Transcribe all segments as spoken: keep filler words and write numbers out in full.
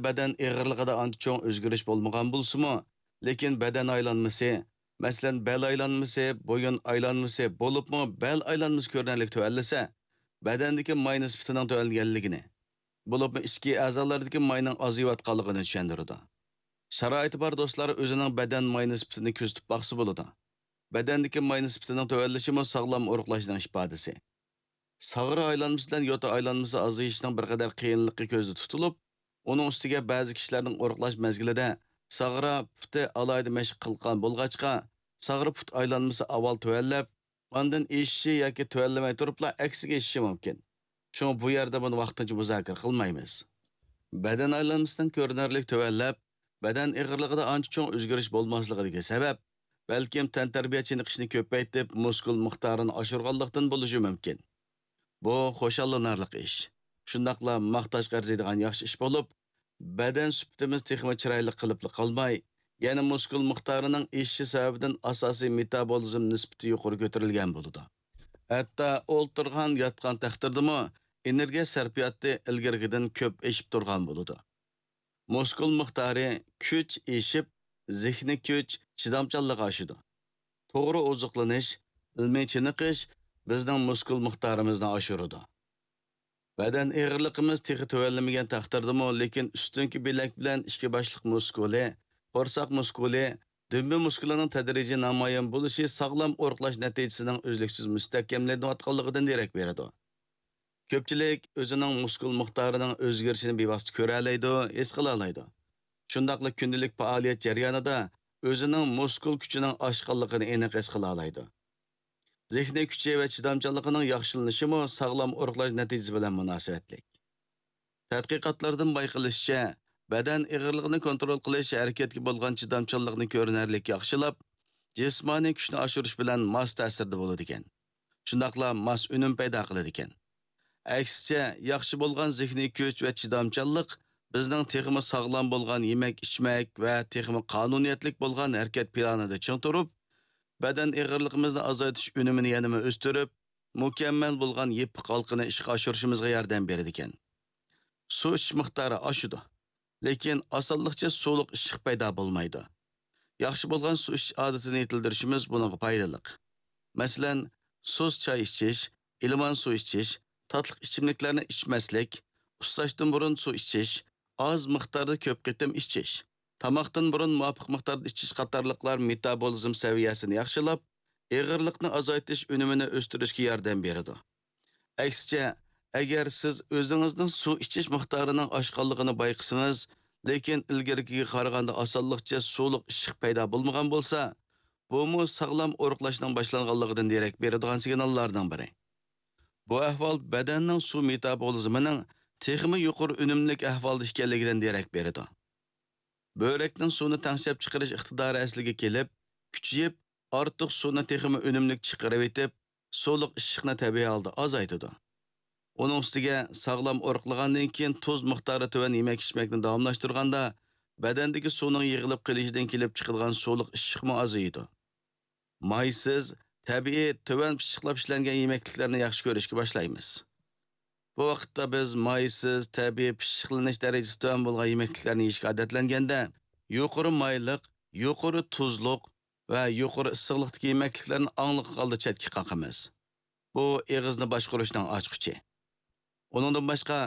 بەدەن ئېغىرلىقىدا ئانچە چوڭ ئۆزگىرىش بولمىغان بولسىمۇ، لېكىن بەدەن ئايلانمىسى، مەسىلەن، بەل ئايلانمىسى، بويۇن ئايلانمىسى، بولۇپمۇ بەل ئايلانمىسى كۆرۈنەرلىك تۆۋەنلىسە، بەدەندىكى ماي نىسبىتىنىڭ تۆۋەنلىگەنلىكىنى، بولۇپمۇ ئىچكى ئەزالاردىكى ماينىڭ ئازىيىۋاتقانلىقىنى چۈشەندۈرىدۇ. شارائىتى بار دوستلار ئۆزىنىڭ بەدەن ماي نىسبىتىنى كۆزىتىپ باقسا بولىدۇ. بەدەندىكى ماي نىسبىتىنىڭ تۆۋەنلىشىمۇ ساغلام ئورۇقلاشنىڭ ئىپادىسى. ساغرا ئايلانمىسى بىلەن يوتا ئايلانمىسى ئازىيىشنىڭ بىر قەدەر قىيىنلىقى كۆزدە تۇتۇلۇپ، ئۇنىڭ ئۈستىگە بەزى كىشىلەرنىڭ ئورۇقلاش مەزگىلىدە ساغرا پۇتى ئالاھىدە مەشىق قىلغان بولغاچقا، ساغرا پۇت ئايلانمىسى ئاۋۋال تۆۋەنلەپ، ئاندىن ئېشىشى ياكى تۆۋەنلىمەي تۇرۇپلا ئەكسىگە ئېشىشى مۇمكىن. شۇڭا بۇ يەردە بۇنى ۋاقتىنچە مۇزاكىرە قىلمايمىز. بەدەن ئايلانمىسىنىڭ كۆرۈنەرلىك تۆۋەنلەپ، بەدەن ئېغىرلىقىدا ئانچە چوڭ ئۆزگىرىش بولماسلىقىدىكى سەۋەب، بەلكىم تەنتەربىيە چېنىقىشنى كۆپەيتىپ، مۇسكۇل مىقدارىنى ئاشۇرغانلىقتىن بولۇشى مۇمكىن. بۇ خۇشاللىنارلىق ئىش. شۇنداقلا ماختاشقا ئەرزىيدىغان ياخشى ئىش بولۇپ، بەدەن سۈپىتىمىز تېخىمۇ چىرايلىق قىلىپلا قالماي، يەنە مۇسكۇل مىقدارىنىڭ ئېشىشى سەۋەبىدىن ئاساسىي مېتابولىزم نىسبىتى يۇقىرى كۆتۈرۈلگەن بولىدۇ. ھەتتا ئولتۇرغان، ياتقان تەقدىردىمۇ ئېنېرگىيە سەرپىياتى ئىلگىرىكىدىن كۆپ ئېشىپ تۇرغان بولىدۇ. مۇسكۇل مىقدارى، كۈچ ئېشىپ، زېھنىي كۈچ، چىدامچانلىق ئاشىدۇ. توغرا ئوزۇقلىنىش، ئىلمىي چېنىقىش بىزنىڭ مۇسكۇل مىقدارىمىزنى ئاشۇرىدۇ. بەدەن ئېغىرلىقىمىز تېخى تۆۋەنلىمىگەن تەقدىردىمۇ، لېكىن ئۈستۈنكى بىلەك بىلەن ئىككى باشلىق مۇسكۇلى، قورساق مۇسكۇلى، دۈمبە مۇسكۇلىنىڭ تەدرىجىي نامايان بولۇشى ساغلام ئورۇقلاش نەتىجىسىنىڭ ئۈزلۈكسىز مۇستەھكەملىنىۋاتقانلىقىدىن دېرەك بېرىدۇ. كۆپچىلىك ئۆزىنىڭ مۇسكۇل مىقدارىنىڭ ئۆزگىرىشىنى بىۋاسىتە كۆرەلەيدۇ، ھېس قىلالايدۇ. شۇنداقلا كۈندىلىك پائالىيەت جەريانىدا ئۆزىنىڭ مۇسكۇل كۈچىنىڭ ئاشقانلىقىنى ئېنىق ھېس قىلالايدۇ. زېھنىي كۈچى ۋە چىدامچانلىقىنىڭ ياخشىلىنىشىمۇ ساغلام ئورۇقلاش نەتىجىسى بىلەن مۇناسىۋەتلىك. تەتقىقاتلاردىن بايقىلىشىچە، بەدەن ئېغىرلىقىنى كونترول قىلىش ھەرىكەتكە بولغان چىدامچانلىقنى كۆرۈنەرلىك ياخشىلاپ، جىسمانىي كۈچنى ئاشۇرۇش بىلەن ماس تەسىردە بولىدىكەن. شۇنداقلا ماس ئۈنۈم پەيدا قىلىدىكەن. ئەكسىچە، ياخشى بولغان زېھنىي كۈچ ۋە چىدامچانلىق بىزنىڭ تېخىمۇ ساغلام بولغان يېمەك-ئىچمەك ۋە تېخىمۇ قانۇنىيەتلىك بولغان ھەرىكەت پىلانىدا چىڭ تۇرۇپ، بەدەن ئېغىرلىقىمىزنى ئازايتىش ئۈنۈمىنى يەنىمۇ ئۆستۈرۈپ، مۇكەممەل بولغان يېپىق ھالقىنى ئىشقا ئاشۇرۇشىمىزغا ياردەم بېرىدىكەن. سۇ ئىچىش مىقدارى ئاشىدۇ، لېكىن ئاسانلىقچە سۇلۇق ئىششىق پەيدا بولمايدۇ. ياخشى بولغان سۇ ئىچىش ئادىتىنى يېتىلدۈرۈشىمىز بۇنىڭغا پايدىلىق. مەسىلەن، سۇس چاي ئىچىش، ئىلمان سۇ ئىچىش، تاتلىق ئىچىملىكلەرنى ئىچمەسلىك، ئۇسساشتىن بۇرۇن سۇ ئىچىش، ئاز مىقداردا كۆپ قېتىم ئىچىش، تاماقتىن بۇرۇن مۇۋاپىق مىقداردا ئىچىش قاتارلىقلار مېتابولىزم سەۋىيەسىنى ياخشىلاپ، ئېغىرلىقنى ئازايتىش ئۈنۈمىنى ئۆستۈرۈشكە ياردەم بېرىدۇ. ئەكسىچە، ئەگەر سىز ئۆزىڭىزنىڭ سۇ ئىچىش مىقدارىنىڭ ئاشقانلىقىنى بايقىسىڭىز، لېكىن ئىلگىرىكىگە قارىغاندا ئاسانلىقچە سۇلۇق ئىششىق پەيدا بولمىغان بولسا، بۇمۇ ساغلام ئورۇقلاشنىڭ باشلانغانلىقىدىن دېرەك بېرىدىغان سىگناللارنىڭ بىرى. بۇ ئەھۋال بەدەننىڭ سۇ مېتابولىزمىنىڭ تېخىمۇ يۇقىرى ئۈنۈملۈك ئەھۋالدا ئىكەنلىكىدىن دېرەك بېرىدۇ. بۆرەكنىڭ سۇنى تەڭشەپ چىقىرىش ئىقتىدارى ئەسلىگە كېلىپ، كۈچىيىپ، ئارتۇق سۇنى تېخىمۇ ئۈنۈملۈك چىقىرىۋېتىپ، سۇلۇق ئىششىقنى تەبىئىي ھالدا ئازايتىدۇ. ئۇنىڭ ئۈستىگە ساغلام ئورۇقلىغاندىن كېيىن تۇز مىقدارى تۆۋەن يېمەك-ئىچمەكنى داۋاملاشتۇرغاندا، بەدەندىكى سۇنىڭ يىغىلىپ قېلىشىدىن كېلىپ چىقىدىغان سۇلۇق ئىششىقمۇ ئازىيىدۇ. مايسىز، تەبىئىي، تۆۋەن پىششىقلاپ ئىشلەنگەن يېمەكلىكلەرنى ياخشى كۆرۈشكە باشلايمىز. بۇ ۋاقىتتا بىز مايسىز، تەبىئىي پىششىقلىنىش دەرىجىسى تۆۋەن بولغان يېمەكلىكلەرنى يېيىشكە ئادەتلەنگەندە، يۇقىرى مايلىق، يۇقىرى تۇزلۇق ۋە يۇقىرى ئىسسىقلىقتىكى يېمەكلىكلەرنى ئاڭلىق ھالدا چەتكە قاقىمىز. بۇ ئېغىزنى باشقۇرۇشنىڭ ئاچقۇچى. ئۇنىڭدىن باشقا،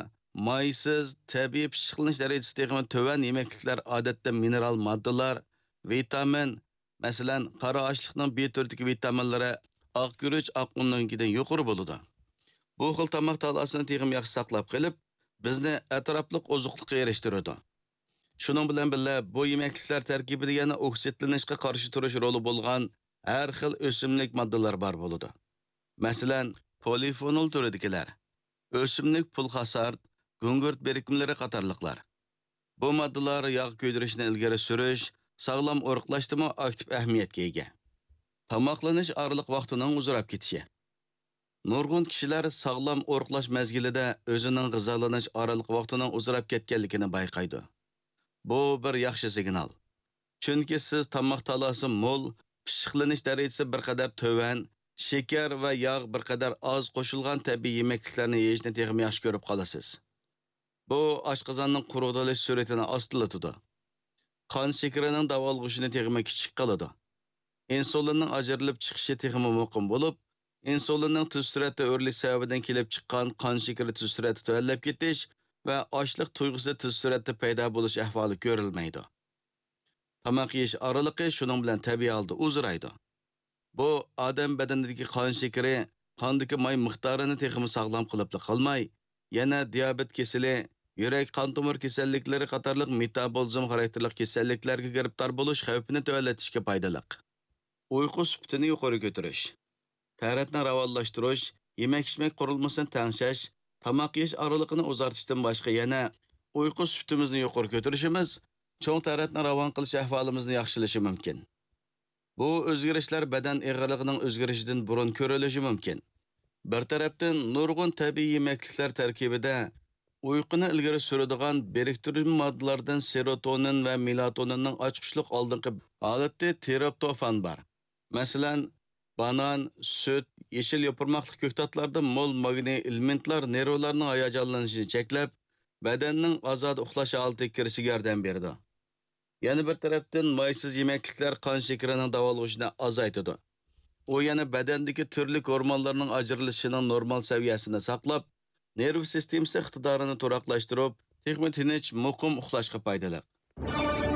مايسىز، تەبىئىي پىششىقلىنىش دەرىجىسى تېخىمۇ تۆۋەن يېمەكلىكلەر ئادەتتە مىنېرال ماددىلار، ۋىتامىن، مەسىلەن، قارا ئاشلىقنىڭ بى تۈرىدىكى ۋىتامىنلىرى ئاق گۈرۈچ، ئاق ئۇننىڭكىدىن يۇقىرى بولىدۇ. بۇ خىل تاماق تالاسىنى تېخىمۇ ياخشى ساقلاپ قېلىپ، بىزنى ئەتراپلىق ئوزۇقلۇققا ئېرىشتۈرىدۇ. شۇنىڭ بىلەن بىللە، بۇ يېمەكلىكلەر تەركىبىدە يەنە ئوكسىدلىنىشقا قارشى تۇرۇش رولى بولغان ھەر خىل ئۆسۈملۈك ماددىلار بار بولىدۇ. مەسىلەن، پولىفېنول تۈرىدىكىلەر، ئۆسۈملۈك پۇلخاسارت، گۈڭگۈرت بىرىكمىلىرى قاتارلىقلار. بۇ ماددىلار ياغ كۆيدۈرۈشنى ئىلگىرى سۈرۈش، ساغلام ئورۇقلاشتىمۇ ئاكتىپ ئەھمىيەتكە ئىگە. تاماقلىنىش ئارىلىق ۋاقتىنىڭ ئۇزىراپ كېتىشى. نۇرغۇن كىشىلەر ساغلام ئورۇقلاش مەزگىلىدە ئۆزىنىڭ غىزالىنىش ئارىلىق ۋاقتىنىڭ ئۇزىراپ كەتكەنلىكىنى بايقايدۇ. بۇ بىر ياخشى سىگنال. چۈنكى سىز تاماق تالاسى مول، پىششىقلىنىش دەرىجىسى بىر قەدەر تۆۋەن، شېكەر ۋە ياغ بىر قەدەر ئاز قوشۇلغان تەبىئىي يېمەكلىكلەرنى يېيىشنى تېخىمۇ ياخشى كۆرۈپ قالىسىز. بۇ ئاشقازاننىڭ قۇرۇقدىلىش سۈرئىتىنى ئاستىلىتىدۇ. قان شېكىرىنىڭ داۋالغۇشىنى تېخىمۇ كىچىك قىلىدۇ. ئىنسۇلىننىڭ ئاجرىلىپ چىقىشى تېخىمۇ مۇقىم بولۇپ، ئىنسۇلىننىڭ تېز سۈرئەتتە ئۆرلىشى سەۋەبىدىن كېلىپ چىققان قان شېكىرى تېز سۈرئەتتە تۆۋەنلەپ كېتىش ۋە ئاچلىق تۇيغۇسى تېز سۈرئەتتە پەيدا بولۇش ئەھۋالى كۆرۈلمەيدۇ. تاماق يېيىش ئارىلىقى شۇنىڭ بىلەن تەبىئىي ھالدا ئۇزىرايدۇ. بۇ ئادەم بەدىنىدىكى قان شېكىرى، قاندىكى ماي مىقدارىنى تېخىمۇ ساغلام قىلىپلا قالماي، يەنە دىيابېت كېسىلى، يۈرەك، قان تومۇر كېسەللىكلىرى قاتارلىق مېتابولىزم خاراكتېرلىق كېسەللىكلەرگە گىرىپتار بولۇش خەۋپىنى تۆۋەنلىتىشكە پايدىلىق. ئۇيقۇ سۈپىتىنى يۇقىرى كۆتۈرۈش. تەرەتنى راۋانلاشتۇرۇش، يېمەك-ئىچمەك قۇرۇلمىسىنى تەڭشەش، تاماق يېيىش ئارىلىقىنى ئۇزارتىشتىن باشقا يەنە ئۇيقۇ سۈپىتىمىزنى يۇقىرى كۆتۈرۈشىمىز چوڭ تەرەتنى راۋان قىلىش ئەھۋالىمىزنى ياخشىلىشى مۇمكىن. بۇ ئۆزگىرىشلەر بەدەن ئېغىرلىقىنىڭ ئۆزگىرىشىدىن بۇرۇن كۆرۈلۈشى مۇمكىن. بىر تەرەپتىن، نۇرغۇن تەبىئىي يېمەكلىكلەر تەركىبىدە ئۇيقۇنى ئىلگىرى سۈرىدىغان بىرىكتۈرمە ماددىلاردىن سېروتونىن ۋە مېلاتونىننىڭ ئاچقۇچلۇق ئالدىنقى ھالىتى تىرىپتوفان بار. مەسىلەن، بانان، سۈت، يېشىل يوپۇرماقلىق كۆكتاتلاردا مول ماگنىي ئېلېمېنتلار نېرۋىلارنىڭ ھاياجانلىنىشىنى چەكلەپ، بەدەننىڭ ئازادە ئۇخلاش ھالىتىگە كىرىشىگە ياردەم بېرىدۇ. يەنە بىر تەرەپتىن، مايسىز يېمەكلىكلەر قان شېكىرىنىڭ داۋالغۇشىنى ئازايتىدۇ. ئۇ يەنە بەدەندىكى تۈرلۈك ھورمونلارنىڭ ئاجرىلىشىنىڭ نورمال سەۋىيەسىنى ساقلاپ، نېرۋا سىستېمىسى ئىقتىدارىنى تۇراقلاشتۇرۇپ، تېخىمۇ تىنچ، مۇقىم ئۇخلاشقا پايدىلىق.